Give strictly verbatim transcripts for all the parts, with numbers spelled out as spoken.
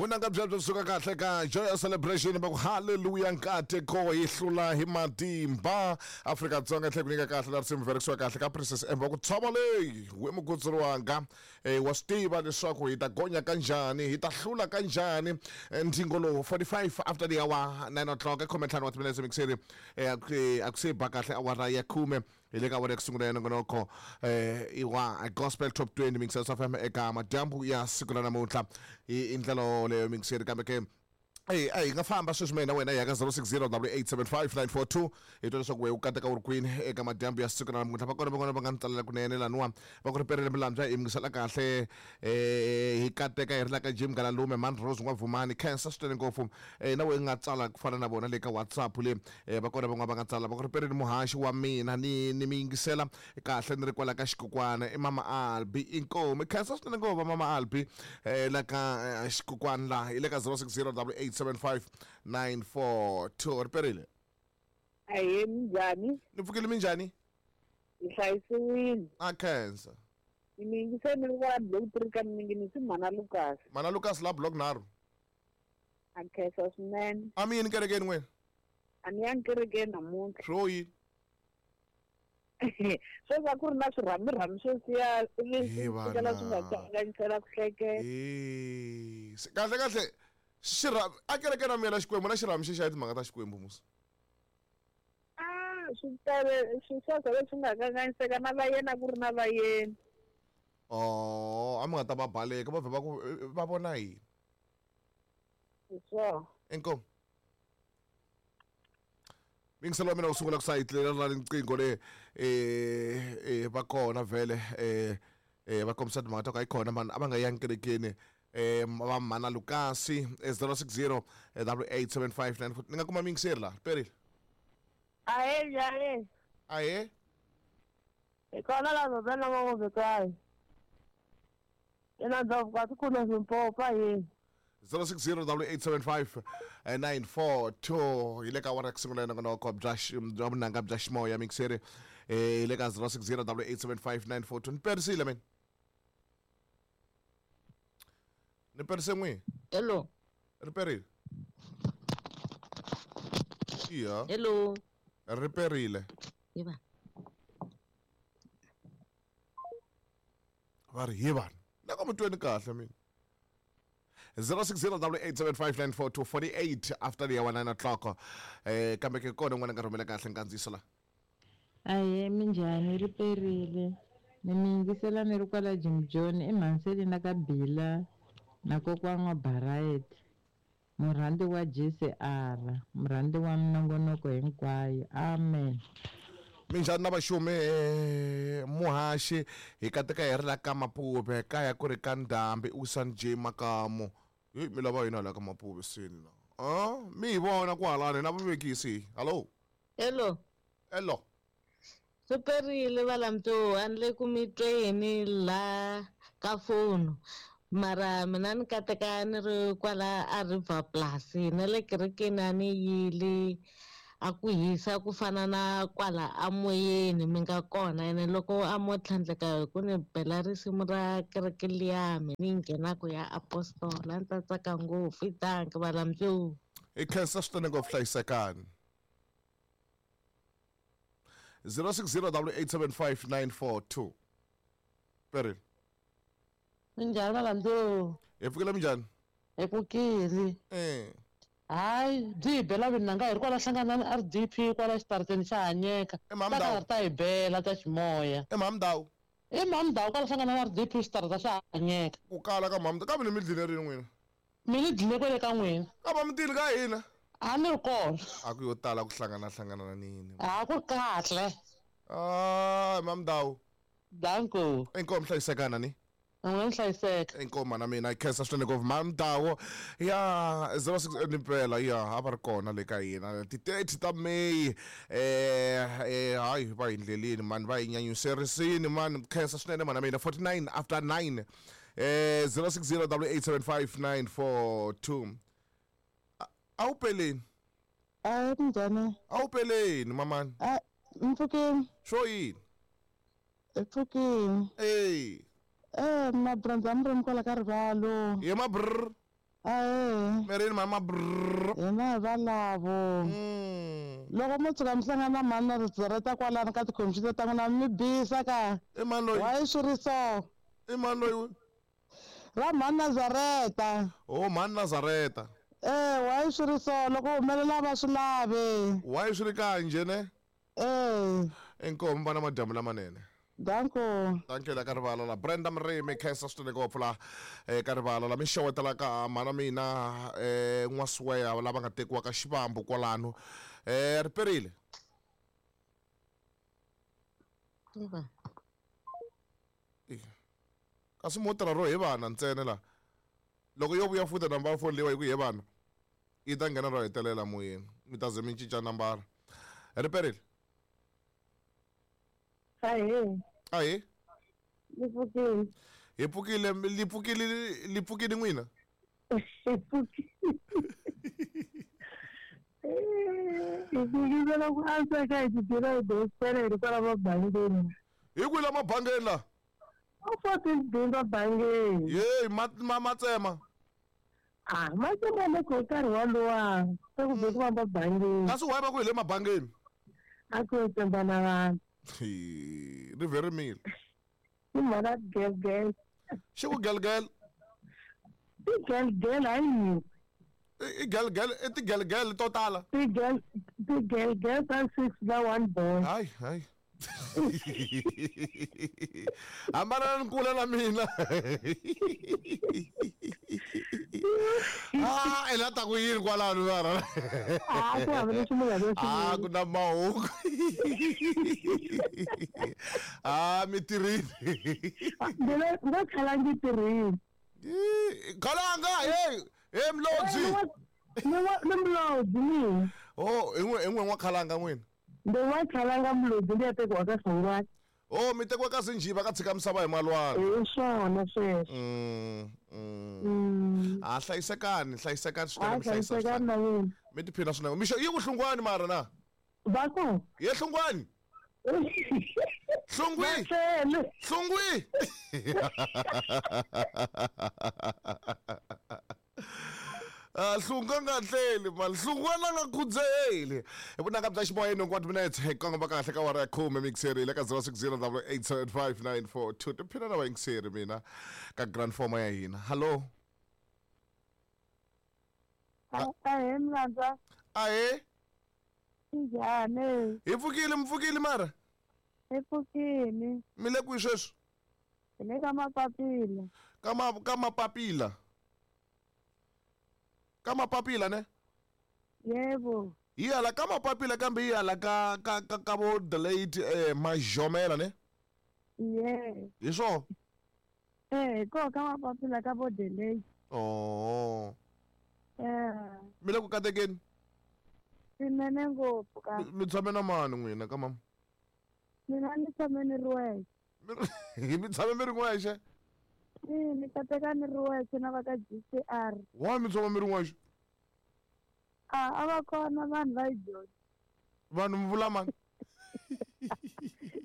Vunanga byebyo byi suka kahle ka Joyous Celebration va ku hallelujah nkateko hi hlula hi matimba Afrika-Dzonga tlhela ku nyika kahle la risimu verisiwa kahle ka Princess M va ku tshova leyi we mukutsuri wanga eh, wa swi tiva leswaku hi ta gonya kanjhani hi ta hlula kanjhani. Eh, ndzingo lowu forty-five after the hour nine o'clock khume ntlhanu wa timinetse mixeri eh, a ku a ku se ba kahle awara ya khume hi le ka awara ya ku sungula ya nongonoko eh, i wa Gospel Top twenty Mixers F M eka madyambu ya siku ra namuntlha hi ndlela leyo mixeri kambe ke Hey, hey, nga famba sweswi mina wena ya ka zero six zero double eight seven five nine four two hi twa leswaku wehe u kateka u ri kwini eka madyambu ya siku ra namuntlha. Va kona van'wana va nga ni tsalela kunene laniwa va ku ri perile milambyana hi yingisela kahle eh, hi kateka hi ri la ka Jim Galalume Man Rose N'wavumani khensa swinene ngopfu eh, na wehe nga tsala ku fana na vona le ka WhatsApp le eh, va kona van'wana va nga tsala va ku ri perile muhaxi wa mina ni ni mi yingisela kahle ni ri kwala ka xikukwana i Mama Albi inkomu khensa swinene ngopfu Mama Albi eh, la ka xikukwana la hi le ka zero six zero double eight seven five nine four two riperile. Ahe minjhani? Ni pfukile minjhani? Hi hlayisiwile. A khensa. Ni yingiseni ni ri block three ka mingi Mana Lucas. Mana Lucas la block nharhu. A khensa swinene. A mi yini kerekeni n'wina? A ni yangi kerekeni namuntlha. Swo yini? Sweswi a ku ri na swirhamirhami swo siya ivi swi kala swi nga kanganyisela ku hleketa. Eh, kahle kahle xirhami a kereke na mina Xikwembu na xirhami xi xa timhaka ta Xikwembu musa. Ah, swi tele swi sweswo leswi nga kanganyiseka na va yena ku ri na va yena. Oh, a mi nga ta va baleka va vhe va ku va vona yini? Swo. Inkomu. Mingiselo wa mina wu sungula ku sayitlela ra riqingho le eh eh va kona vhele eh eh va kombisa timhaka ta ku a yi kona vanhu a va nga yangi kerekeni eh va Mana Lucas zero six zero double eight seven five nine four ni nga kuma mingiseri la perile. Ahe njhani? Ahe hi kona la vhela va ina ndhavuko a tikulu Limpopo yini zero six zero double eight seven five nine four two hi le ka awara ku sungula nongonoko bya bya vunanga bya ximoya mixeri eh hi le ka zero six zero double eight seven five nine four two ni perisile mina ni perise n'wi. Hello. Ri perile. Iya. Hello. Ri perile. Hi vanhu. Va ri hi vanhu. Na ku mi tweni kahle mina. zero six zero double eight seven five nine four two forty-eight after the hour nine o'clock eh kambe ke kona n'wana nga rhumela kahle nkandziyiso la. Ahe minjhani ri perile ni mi yingisela ni ri kwala Jim John emhanseni na ka Bila na kokwana wa Barayet murhandzi wa G C R murhandzi wa minongonoko hinkwayo amen. Minjhani na vaxumi muhaxi hi kateka hi ri la ka Mapuve kaya ku ri ka Ndhambi Usan J Makamu hi mi lava yini hala ka Mapuve sini la ah mi hi vona kwalani na vavekisi. Hello. Hello. Hello. Swi perile valamto a ni le ku mi tweni la ka foni mara mina ni kateka ni ri kwala a River Plus na le kerekeni a ni yile a ku hisa ku fana na kwala amoyeni mi nga kona ene loko a mo tlhandleka hi ku ni bela risimu ra kereke liya mi ni nghenaku ya apostola ni ta tsaka ngopfu i danki valamto. Hi khensa swinene ngopfu hlayisekani. zero six zero double eight seven five nine four two perile. Minjhani valamto? Hi pfukile minjhani? Hi pfukile. Eh. Hayi byi hi bela vinanga hi ri kwala hlanganani R D P kwala xitarateni xa Hanyeka ta karhi ta hi bela ta ximoya. I Mhamdawu. I Mhamdawu kwala hlanganani R D P xitarata xa Hanyeka. Ku kala ka Mhamdawu kambe ni mi dlile rini n'wina? Mi ni dlile kwele ka n'wina. Kambe mi tile ka hina. A ni ri kona. A ku yo tala ku hlangana hlangana na nini. A ku kahle. Ah Mhamdawu. Danko. Inkomu hlayisekana ni. N'wina hlayiseka. Inkomu na mina khensa swinene ngopfu Mhamdawu ya zero six ni mpela ya a va ri kona le ka hina ti thirty ta May eh eh hayi va hi ndleleni mani va hi nyanyuserisini mani khensa swinene mana mina forty-nine after nine eh zero six zero double eight seven five nine four two a wu peleni. A minjhani? A wu peleni mamani. A mpfukeni. Swo yini? Mpfukeni. Eh. Eh, mabrandza mi ri kwala ka rivalo. Ye mabrr. Ahee. Mirini mama brrr. Hina hi valavo. Loko mo tshuka mi hlangana na mhani na rizareta kwalano ka tikhompyuta ta n'wina mi bisa ka. I mani loyi? Why swi ri so? I mani loyi? Ra mhani Nazareta. Oh, mhani Nazareta. Eh, why swi ri so? Loko humelela va swi lavi. Why swi ri kanje ne? Eh. Inkomu vana madyambu lamanene. Danko. Thank you la ka rivala la Brenda Mrimi khensa swinene ngopfu la eka rivala la mi xewetela ka mhana mina eh n'wasiweya lava nga tekiwa ka Xivambu kwalano eh riperile. Kasi mo tirha ro hi vana ntsena la loko yo vuya futa nambara phone leyi hi ku hi vana yi ta nghena ro hetelela moyeni mi ta ze mi cinca nambara. Riperile. Ahee. Ahee. Ni pfukile. Hi pfukile li pfukile li pfukile n'wina? Hi pfukile. Hi pfukile loko a tsaka hi tibyela hi gospel hi ri kwala mabangeni. Hi kwihi la mabangeni la? A fourteen B mabangeni. Yeyi ma ma matsema. Ah, matsema loko hi nkarhi walowa se ku be ku va mabangeni. Kasi why va ku hi le mabangeni? A ku tsemba na vanhu. Ri verimile. I mhaka gelgel. Xi ku gelgel? I gelgel hayi. I gelgel i tigelgel to tala. Tigel tigelgel ta six na one boy. Hayi hayi. Hambana ni kula na mina. Ah, i la ta ku yini kwalano mara? Ah, ku hava lexi munhu a nga xi Ah, ku na mahungu. Ah, mi tirhile. Mina nga khala ndzi tirhile. Khalanga, hey, hey Mlodzi. Ni wa ni Mlodzi mina. Oh, i n'we i n'we n'wa khalanga n'wina. Ndi wa khalanga Mlodzi ndi ya tekiwa ka Sangwani. Oh, mi tekiwa ka Sinjiva ka tshika misava hi malwana. Hi swona sweswo. Mm. Mm. Ah, hlayisekani, hlayisekani swinene mi hlayisa. Hlayisekani na wena. Mi tiphina swinene. Mixo yi ku Hlungwani mara na? Va ku? Ye Hlungwani. Hlungwi. Hlungwi. Ah, Hlungwa nga tleli mali Hlungwana nga khudzeli. Hi vunanga bya ximoyeni hinkwato minutes hi kongoma kahle ka wara ya khume mixeri le ka zero six zero double eight seven five nine four two. Tiphina na vayingiseri mina ka grand forma ya hina. Hallo. Ahee Mlandza. Ahee. Njhani? Hi pfukile mi pfukile mara? Hi pfukile. Mi le kwihi sweswi? Hi le ka Mapapila. Ka ma ka Mapapila. Ka Mapapila ne? Yebo. Hi hala ka Mapapila kambe hi hala ka ka ka ka vo the late eh Majomela ne? Yeah. Hi swona? Eh, ko ka Mapapila ka vo the late. Oh. Eh. Mi le ku katekeni? Swinene ngopfu ka. Mi tshame na mani n'wina ka mama? Mina ni tshame ni ri wexe. Mi tshame mi ri wexe? Eh, ni kateka ni ri wexe na va ka G C R. Why mi tshama mi ri wexe? Ah, a va kona vanhu va yi dyondza. Vanhu mi vula mani?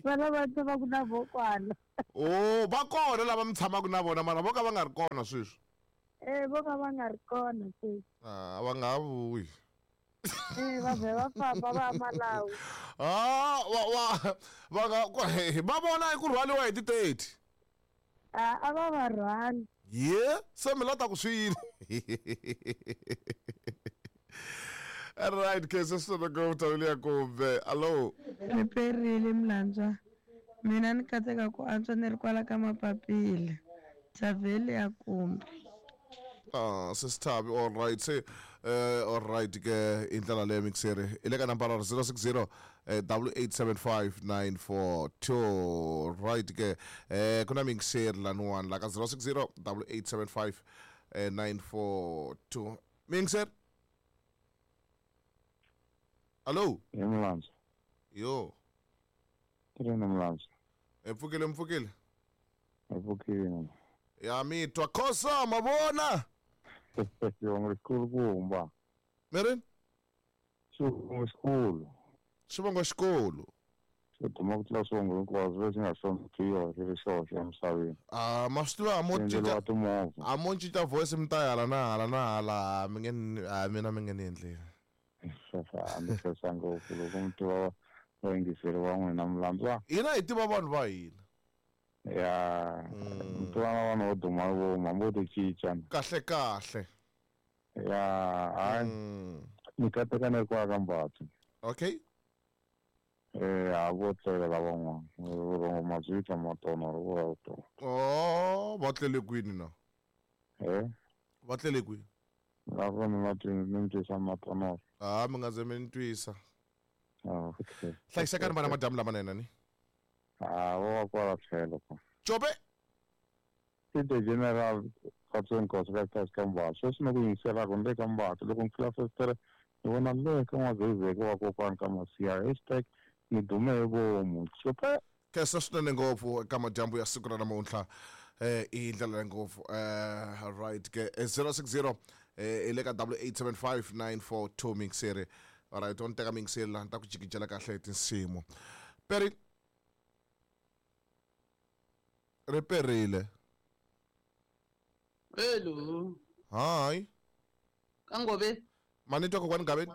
Vana va tshamaka na vokwana. Oh, va kona lava mi tshamaka na vona mara vo ka va nga ri kona sweswi. Eh, vo ka va nga ri kona sweswi. Ah, va nga ha vuyi. Eh, va vhe va famba va ya Malawi. Ah, wa wa va nga va vona hi ku rhwaliwa hi ti thirty. Ah, a va va rhwali. Ye, se mi la ta ku swi yini? All right, kese swinene ngopfu tawile ya kumbe. Allo. Riperile Mlandza. Mina ni katseka ku antswa ni ri kwala ka Mapapila. Thavhele ya kumbe. Ah, sisithabi all right. Se eh all right ke indlela leyo mixere. I le ka nambara zero six zero double eight seven five nine four two. Right ke eh kuna mixere laniwani la ka zero six zero double eight seven five nine four two. Mixer. Allo. Mlandza. Yo. Tirheni Mlandza. E pfukile mpfukile. E pfukile. Ya mi twa khosa mavona. Xivongo xikulu kumba. Mirini? Xivongo xikulu. Xivongo xikulu. Xo duma ku tlula swivongo hinkwaswo leswi nga hloniphiwa xi ri xoxe emisaveni. Ah, ma swi tiva a mo Endleriwa cinca timovha. a mo cinca voice mi ta hala na hala na hala mi nge ni- a mina mi nge ni endleli. A ni khensa ngopfu loko mi tiva vayingiseri va n'wina Mlandzwa. Hina hi tiva vanhu va hina. Ya, mi tiva na vanhu vo duma vomu hambi vo ti cinca. Kahle kahle. Ya, hayi ni kateka ni ri kwala ka Mbatha. Okay. Eh, a vo tlela lavan'wana. Vurhongo mabyi matona ri vula tona. Oh, va tlele kwini na? Eh? Va tlele kwini? Lava ni ma twi ni mi twisa matonoro. Ah, mi nga ze mi ni twisa. Ah, okay. Hlayisekani vana madyambu lamanene ni. Ah, vo va kwala tlhelo ko. Cope. I the general Katsongo Nkosi ka Kasi ka Mbatha. Sweswi ni ku yingiselaka ni le ka Mbatha. Loko ni pfula fesitere ni vona le ka N'wazezeke wa kokwani ka Masiya. Hashtag ni dume hi vomu. Cope. Khensa swinene ngopfu eka madyambu ya siku ra namuntlha. Eh, i ndlela leyi ngopfu. Eh, right ke zero six zero eh i le ka double eight seven five nine four two mixere. Alright, on teka mixere la ni ta ku jikijela kahle hi tinsimu. Peri ri perile. Hello. Hi. Ka Ngove. Mani twa kokwani Gaveni?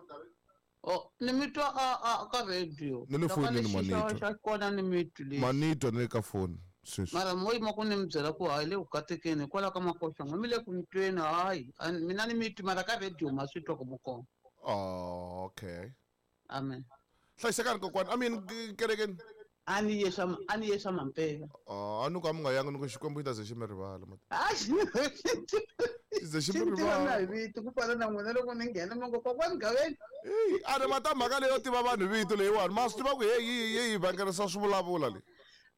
Oh, ni mi twa a a ka radio. Ni le Loko fonini, ni xixa Manitwa. xa kona ni mi twi lexi. Manitwa ni le ka foni sweswi. Mara mo yima ku ni mi byela ku hayi le ku katekeni hikwalaho ka makoxa n'we mi le ku mi tweni hayi. A ni- Mina ni mi twi mara ka radio ma swi twa ku mi kona. Oh, okay. Amen. Hlayisekani kokwani. I mean kerekeni. A ni ye swa a ni ye swa mampela. Oh, a ni ku a mi nga yangi ni ku Xikwembu xi ta ze xi mi rivala. A xi Xi ze xi xi mi ni tiva na hi rivala. vito ku fana na n'wina loko ni nghena mi ngo kokwani Gaveni. Eyi, a ni mata mhaka leyo tiva vanhu vito leyiwani. Ma swi tiva ku heyi yi yi vangerisa swivulavula leyi.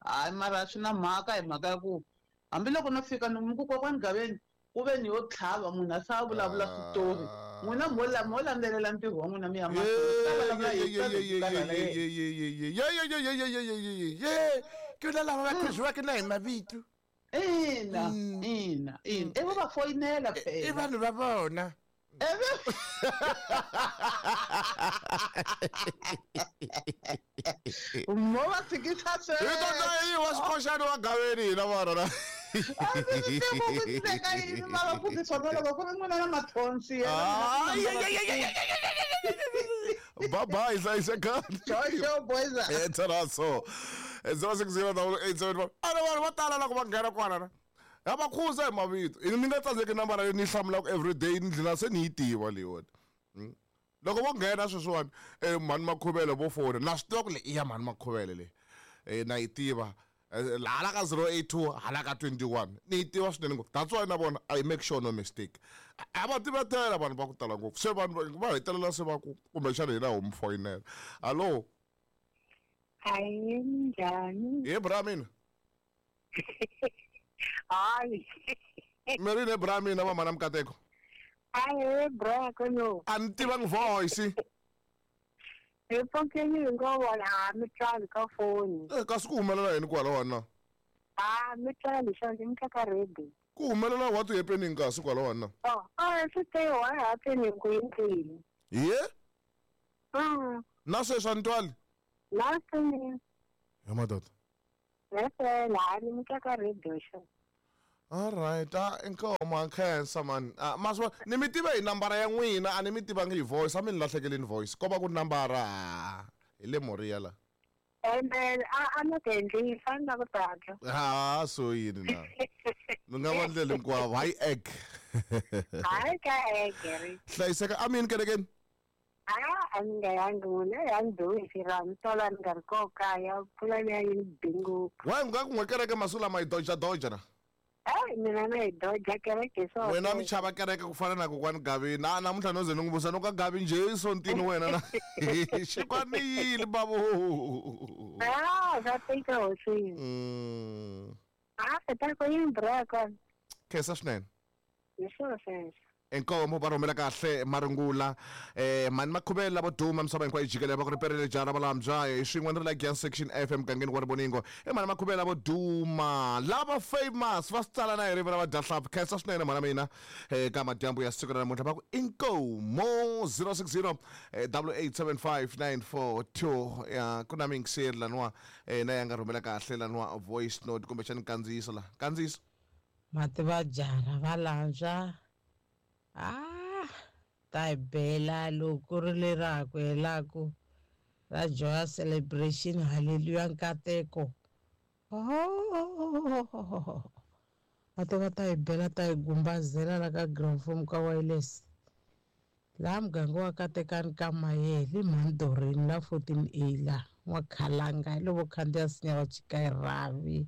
Hayi mara swi na mhaka hi mhaka ya ku hambiloko no fika ni mi ku kokwani Gaveni ku ve ni yo tlhava munhu a sa vulavula switori. N'wina mo la mo landzelela ntirho wa n'wina mi ya mahlweni. Ta vulavula hi ta karhala yena. Ke na lava va khuziwaka na hi mavito. Ina, ina, ina. I va va foyinela I phela. vanhu va vona. Mo va tshikisa Hi ta sweswo. yi wa swikhoxani wa Gaveni hina vana na. A ndzi swi tivi ku ndleka yini mara ku ti swona loko ku ri n'wina na mathonsi yena Ah, mina yeah, yeah, yeah, yeah, yeah. Bye bye, hlayisekani. Jojo boys. Eh, tsharaso. zero six zero double eight seven five. A ni vanhu vo tala loko va nghena kwala na. Ya va khuza hi mavito. Ni nga tsandzeki nambara leyi ni yi hlamulaka everyday ni dlina se ni yi tiva leyiwani. Loko vo nghena sweswiwani eh mhani Makhuvele vo fona na swi tiva ku leyi i ya mhani Makhuvele leyi. Eh na yi tiva. Hala ka zero eight two hala ka twenty one ni yi tiva swinene ngopfu. That's why na vona I make sure no mistake. A va tivetela vanhu va ku tala ngopfu. Se vanhu va hetelela se va ku kumbexana hina ho mi foyinela. Hallo. Hayi njhani? He bra mina. Hayi. Mi ri ne bra mina va mhana Mukateko. Hayi bra kono. A ni tivangi voice. Hi pfukeni hi ngo vona a mi twali ka foni. Eh kasi ku humelela yini kwalawani na? A mi twali swa ndzi mi ka radio. Ku humelela what happening kasi kwalawani na? Oh, ah swi te what happening ku yini? Ye? Mm. Na sweswi a ni twali? Last Ya madoda. Lesela a ni mi ka radio xa. All right, ah inkomo khensa man. Ah maswa ni mi tiva hi nambara ya n'wina a ni mi tivangi hi voice, a mi ni lahlekeleni voice. Ko va ku nambara hi le Moria la. And then a a ni ku endli fani na ku tata. Ha so yini na. Mi nga va ndlela hinkwavo, hayi egg. Hayi ka egg. Hlayiseka a mi yini kerekeni? A a ni nga yangi n'wina ya ni duhisi ra ni tola ni nga ri koho kaya mpfula liya yi ni bi ngopfu. Why nga ku n'we kereke masiku lama yi doja doja na? Hayi mina na yi doja kereke hi swona. Wena mi chava kereke ku fana na kokwani Gavi na namuntlha no ze ni n'wi vutisa no ka Gavi njhe sontini wena na xikwani yini bavo. Ah, swa tika hosini. Mm. Ah, ta ku yini bra kona. Khensa swinene. Hi swona sweswo. Inkomo va rhumela kahle marungula eh mani makhuvela vo duma misava hinkwayo jikelele va ku ri perile jara va lambya hi swin'we ni ri la Giyani section F emugangeni wa Rivoningo i mani makhuvela vo duma lava famous va swi tsala na hi rivera va dyahlampfi khensa swinene mhana mina eka madyambu ya siku ra namuntlha va ku inkomo zero six zero double eight seven five nine four two ya ku na miyingiseri laniwa na ya nga rhumela kahle laniwa voice note kumbexani kandziyiso la kandziyiso mativa jara va landzwa. Ah, ta hi bela loko ri lera ku helaku ra joy celebration hallelujah nkateko. Oh, mativa ta hi bela ta hi gumbazela la ka ground form ka wireless laha muganga wa Katekani ka Mayele Mandorini la fourteen A la n'wakhalanga hi lovo khandziya sinya va chika hi rhavi.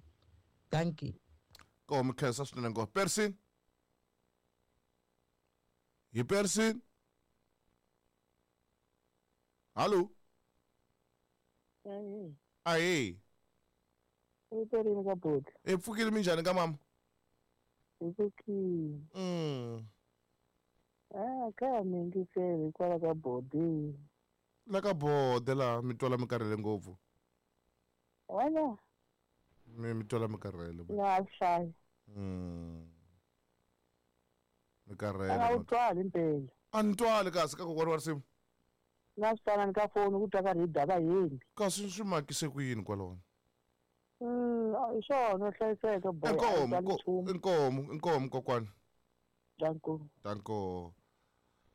Thank you. Komu khensa swinene ngopfu Percy. Hi Percy. Hallo. Ayi. Uperini ka bhuti. E pfukile minjhani ka mama? Hi pfukile. Mm. Ah, ka mi yingiseli kwala ka bodi. La ka bode la mi twala mi karhele ngopfu. Wena? Mi mi twala mi karhele. Na hlaya. Mm. Mi karhele. A wu twali impela. A ni twali kasi ka kokwana wa risimu. Na swi twana ni ka foni ku twa ka ri dava yini. Kasi swi makise ku yini kwalona? Mm, hi swona hlayiseka boy. Inkomo, inkomo, inkomo kokwana. Danko. Danko.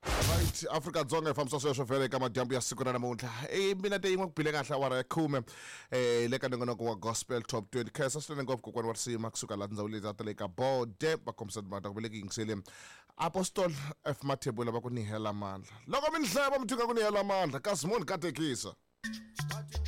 Right, Afrika Dzonga hi fambisa sweswo vhele eka madyambu ya siku ra namuntlha. E mina te yin'we ku bile kahle awara ya khume eh le ka nongonoko wa Gospel Top twenty. Khensa swinene ngopfu kokwana wa risima kusuka laha tindhawu leti ta le ka bode va kombisa timhaka ta ku ve le ku yingiseleni. Apostol F Mathebula va ku ni hela mandla. Loko mi ni hlaya va mi thinga ku ni hela mandla kasi munhu katekisa.